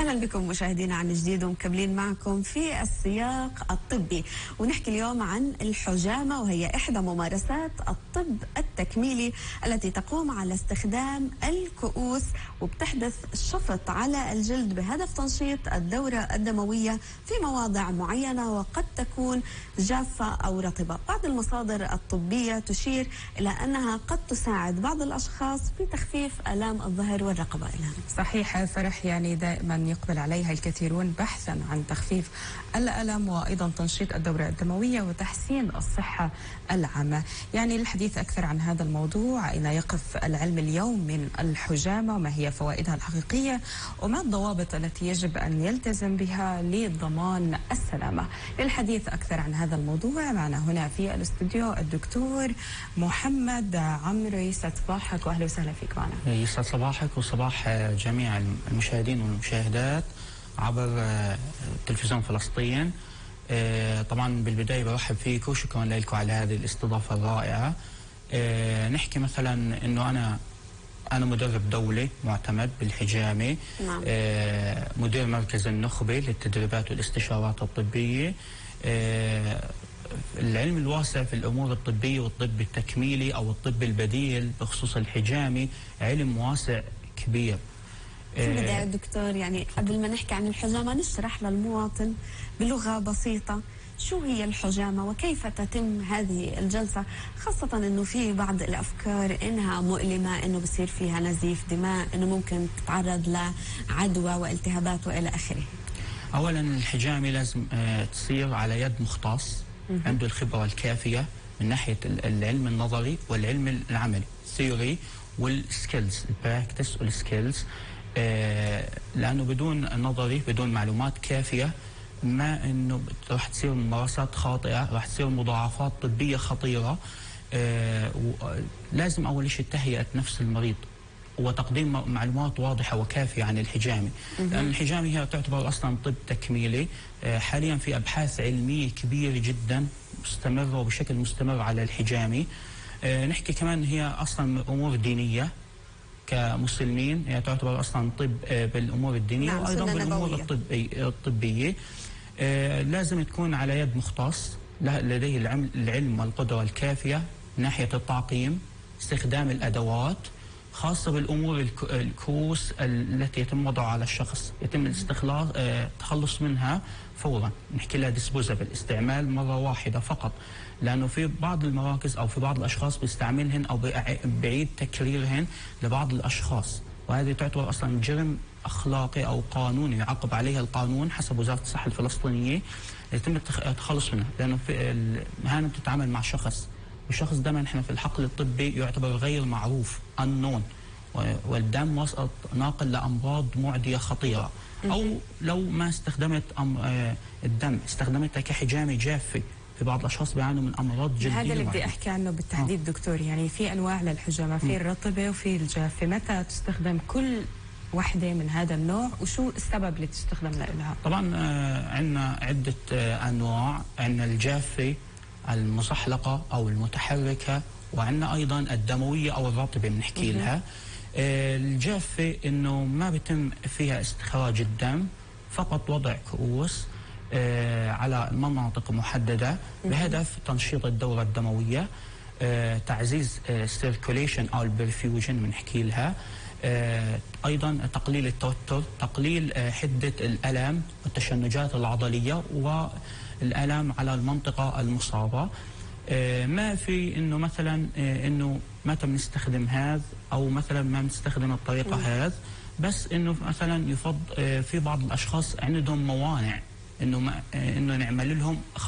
أهلا بكم مشاهدينا عن جديد ومكملين معكم في السياق الطبي، ونحكي اليوم عن الحجامة، وهي إحدى ممارسات الطب التكميلي التي تقوم على استخدام الكؤوس وبتحدث شفط على الجلد بهدف تنشيط الدورة الدموية في مواضع معينة وقد تكون جافة أو رطبة. بعض المصادر الطبية تشير إلى أنها قد تساعد بعض الأشخاص في تخفيف آلام الظهر والرقبة. صحيح فرح، يعني دائما يقبل عليها الكثيرون بحثا عن تخفيف الألم وأيضا تنشيط الدورة الدموية وتحسين الصحة العامة. يعني للحديث أكثر عن هذا الموضوع، أين يقف العلم اليوم من الحجامة وما هي فوائدها الحقيقية وما الضوابط التي يجب أن يلتزم بها لضمان السلامة. للحديث أكثر عن هذا الموضوع معنا هنا في الاستوديو الدكتور محمد عمرو. يسعد صباحك وأهلا وسهلا فيك معنا. يسعد صباحك وصباح جميع المشاهدين والمشاهدات عبر تلفزيون فلسطين. طبعا بالبداية برحب فيكم وشكرا لكم على هذه الاستضافة الرائعة. نحكي مثلا انه انا مدرب دولي معتمد بالحجامة. نعم. مدير مركز النخبة للتدريبات والاستشارات الطبية. العلم الواسع في الأمور الطبية والطب التكميلي أو الطب البديل بخصوص الحجامة علم واسع كبير. في البداية دكتور، يعني قبل ما نحكي عن الحجامة نشرح للمواطن بلغة بسيطة شو هي الحجامة وكيف تتم هذه الجلسة، خاصة أنه في بعض الأفكار إنها مؤلمة، إنه بصير فيها نزيف دماء، إنه ممكن تتعرض لعدوى والتهابات وإلى آخره. أولا الحجامة لازم تصير على يد مختص عنده الخبرة الكافية من ناحية العلم النظري والعلم العملي، الثيوري والسكيلز، البراكتس والسكيلز. لأنه بدون نظري بدون معلومات كافية ما إنه راح تصير ممارسات خاطئة، راح تصير مضاعفات طبية خطيرة. لازم أول شيء تهيئة نفس المريض وتقديم معلومات واضحة وكافية عن الحجامة، لأن الحجامة هي تعتبر أصلا طب تكميلي. حاليا في أبحاث علمية كبيرة جدا مستمرة وبشكل مستمر على الحجامة. نحكي كمان هي أصلا أمور دينية، كمسلمين هي تعتبر أصلا طب بالأمور الدينية. نعم، وأيضا بالأمور الطبية. لازم تكون على يد مختص لديه العلم والقدرة الكافية من ناحية التعقيم، استخدام الأدوات خاصة بالأمور الكؤوس التي يتم وضعها على الشخص، يتم التخلص منها فورا. نحكي لها ديسبوزابل، استعمال مرة واحدة فقط، لأنه في بعض المراكز أو في بعض الأشخاص بيستعملهن أو بعيد تكريرهن لبعض الأشخاص، وهذه تعتبر أصلا جرم أخلاقي أو قانوني يعاقب عليها القانون حسب وزارة الصحة الفلسطينية. يتم التخلص منها، لأنه في المهنة بتتعامل مع شخص، والشخص ده نحن في الحقل الطبي يعتبر غير معروف unknown، والدم وسط ناقل لأمراض معدية خطيرة. أو لو ما استخدمت الدم استخدمتها كحجامة جافة، في بعض الأشخاص بيعانوا من أمراض جلدية. هذا اللي بدي أحكي عنه بالتحديد دكتور، يعني في أنواع للحجامة، في الرطبة وفي الجافة، متى تستخدم كل واحدة من هذا النوع وشو السبب اللي تستخدم لها؟ طبعا عندنا عدة أنواع، عندنا الجافة المصحلقة أو المتحركة، وعندنا أيضا الدموية أو الرطبة بنحكي لها. الجافة إنه ما بيتم فيها استخراج الدم، فقط وضع كؤوس على مناطق محددة بهدف تنشيط الدورة الدموية، تعزيز السيركوليشن أو البرفيوجن بنحكي لها. أيضا تقليل التوتر، تقليل حدة الألم والتشنجات العضلية والألم على المنطقة المصابة. ما في إنه مثلا إنه متى بنستخدم هذا أو مثلا ما بنستخدم الطريقة هذا، بس إنه مثلا يفضل في بعض الأشخاص عندهم موانع إنه نعمل لهم